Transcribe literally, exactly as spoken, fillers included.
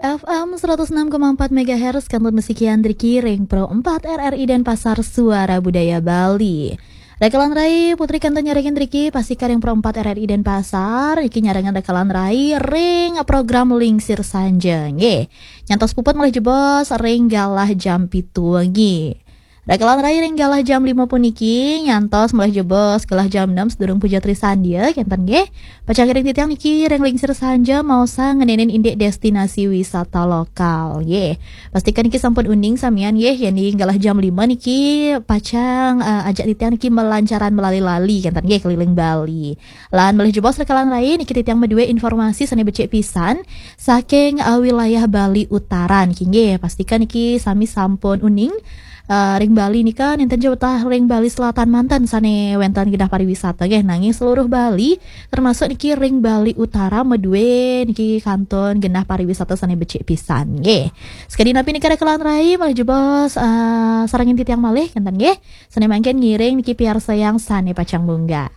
F M seratus enam koma empat megahertz, kantun masikian driki ring Pro empat R R I Denpasar, Suara Budaya Bali. Rakalan rai, Putri kantun nyarengin driki, pastika ring Pro empat R R I Denpasar, niki nyarengin rakalan rai ring program Lingsir Sanja, nggih. Nyantos puput malih jebos ring galah jam pitu wengi. Rakalan rai ring galah jam lima puniki, nyantos malih jebos galah jam enam sadurung puja trisandia, kenten nggih. Pacang ngiring titiang niki ring Lingsir Sanja maosang ngenenin indik destinasi wisata lokal, nggih. Pastika niki sampun uning samian nggih, yen ring galah jam lima niki pacang, eh, ajak titiang niki malancaran malali-lali, kenten nggih, keliling Bali. Lan malih jebos rakalan rai, niki titiang madue informasi sane becik pisan saking, eh, wilayah Bali Utara niki nggih. Pastika niki sami sampun uning, eh, ring Bali nika nenten jawatah ring Bali Selatan manten sane wenten genah pariwisata nggih, nanging seluruh Bali, termasuk niki ring Bali Utara madue niki kantun genah pariwisata sane becik pisan nggih. Sakadi napi nika rakalan rai, malih jebos, eh, sarengin titiang malih, kenten nggih. Sane mangkin ngiring niki piarsayang sane pacang munggah.